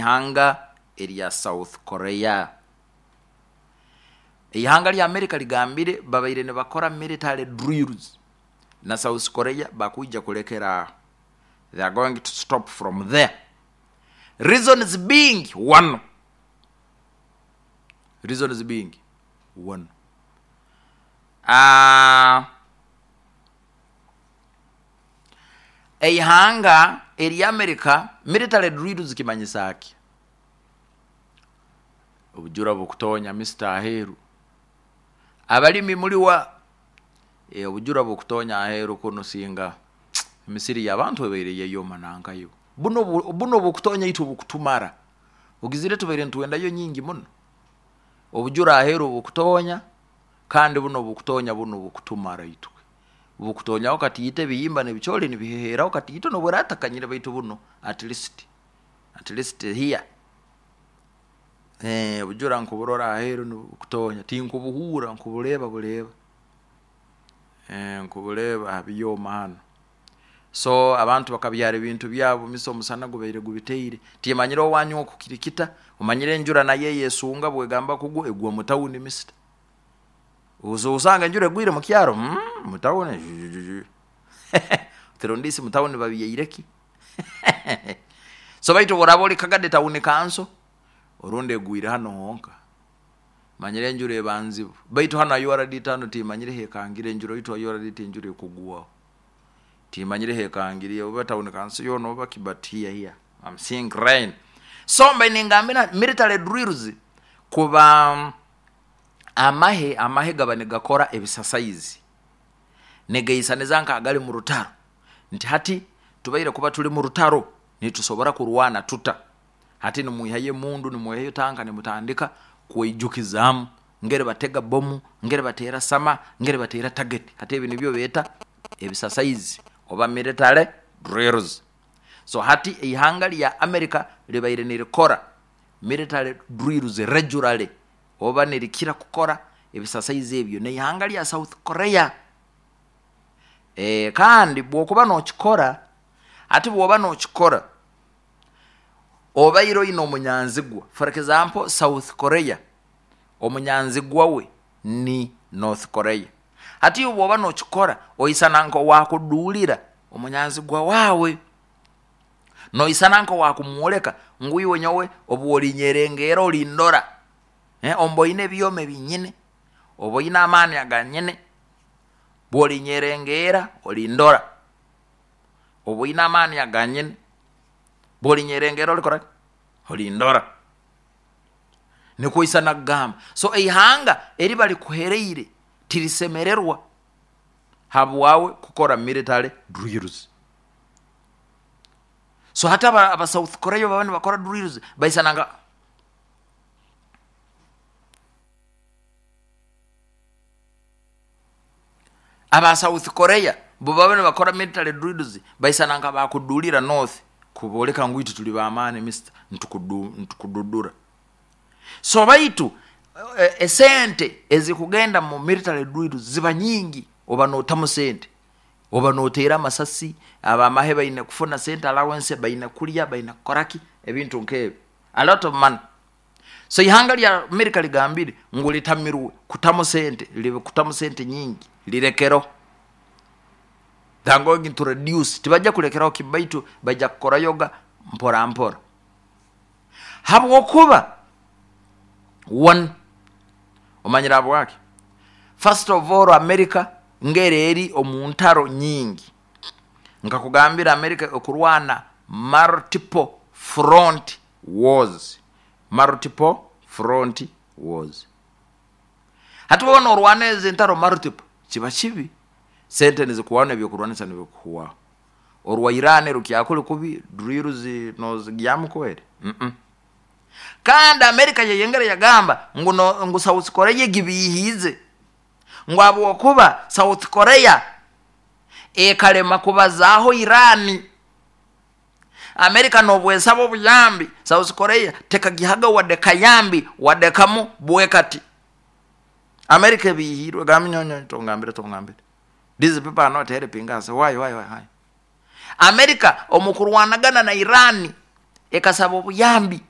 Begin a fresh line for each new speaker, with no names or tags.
N'eihanga erya South Korea. Eihanga lya America ligambire babaire nibakora military drills na South Korea bakwija kulekera aho. They are going to stop from there. Reasons being one. Reasons being one. Eihanga erya America military drills kimanyisa ki? Obujura bukutonya Mister aheeru. Abalimi muliwa? Obujura bukutonya aheeru kunu singa emisiri y'abantu ebaire yayoma nankayo. Buno buno obukutonya itwe bukutumara. Ogizire tubaire nitwendayo nyingi muno. Obujura aheeru bukutonya kandi buno obukutonya bunu bukutumara itwe. Bukutonyaho katiito ebihimba n'ebicoori nibiheheeraho katiito n'obu eratakanyire baitu buno at least at least here. Obujura nkuburora aheeru nibukutonya tinkubuhuura nkubureeba bureeba. Nkubureeba ha byoma hanu. So abantu bakabyara ebintu byabo misa omusana gubaire gubiteire. Timanyire owanyu oku kiri kita, omanyire enjura nayo eyesunga bwegamba kugwa egwa mu tawuni mister. Osanga enjura egwire mu kyaro, mu tawuni oti rundi isi mu tawuni babyaire ki? So baitu obu oraaba ori Kagadi tawuni kanso, orundi egwire hanu honka. Manyire enjura eba nzibu. Baitu hanu ha URDT hanu timanyire hekangire enjura itwe ha URDT enjura ekugwaho. Timanyire hekangire oba tawuni kanso yoona oba ki but here here I'm seeing rain. So mbaire ningambira military drills kuba amahe amahe gaba nigakora ebisasaizi nigaisaniza nk'agali mu rutaro nti hati tubaire kuba tuli mu rutaro nitusobora kurwana tuta? Hati nimwihayo emundu nimwihayo tanka nimutandika kweijukizaamu ngeri batega bomu, ngeri bateera sama, ngeri bateera tageti. Hati ebi nibyo beeta ebisasaizi oba military drills. So hati eihanga lya America ribaire nirikora military drills regularly oba nirikira kukora ebisasaizi ebyo n'eihanga lya South Korea. Kandi bw'okuba n'okikora, hati bw'oba n'okikora obaire oine omunyanzigwa, for example South Korea omunyanzigwa we ni North Korea. Hati iwe bw'oba n'okikora oisana nk'owaakuduulira omunyanzigwa waawe. Noisana nk'owaakumwoleka ngu iwe nyowe obu olinyerengeera olindora, omba oine ebyoma ebi nyine, oba oine amaani aga nyine, obu olinyerengeera olindora, oba oine amaani aga nyine, obu olinyerengeera olikora ki? Olindora. Nikwo oisana kugamba. So eihanga eri barikuhereire tirisemererwa habwawe kukora military drills. So hati aba South Korea obu baba nibakora drills baisana nka. Aba South Korea bo baba nibakora military drills baisana nka bakudulira North kuboleka ngu itwe tuli b'amaani mister nitukududura. So baitu esente ezikugenda mu military drills ziba nyingi oba notamu sente, oba noteera amasasi, abamahe baine kufuna sente allowance, baine kurya, baine kukora ki, ebintu nk'ebi, a lot of money. So eihanga lya America ligambire ngu ritamirwe kutamu sente, kutamu sente nyingi, rirekereho. They are going to reduce, tibaija kurekeraho ki baitu baija kukorayoga mpora mpora. Habwokuba one, omanyire habwaki? First of all America ngeri eri omu ntaro nyingi. Nkakugambira America ekurwana multiple front wars, multiple front wars. Hati waaba norwana ezi entaro multiple, kiba kibi, sente nizikuhwaho n'ebyokurwanisa nibikuhwaho. Orwa Iran rukyakuli kubi, drills nozigyamu kweri? Kandi America yeyongera yagamba ngu no, ngu South Korea egibiihiize, ngu habwokuba South Korea ekalema kubazaaho Iran. America nobwesaba obuyambi, South Korea tekagihaga wadde kayambi wadde kamu bwekati. America ebiihiirwe egamba nyowe tongambire tongambire. These people are not helping us. Why, why, why, why? America omu kurwanagana na Iran ekasaba obuyambi.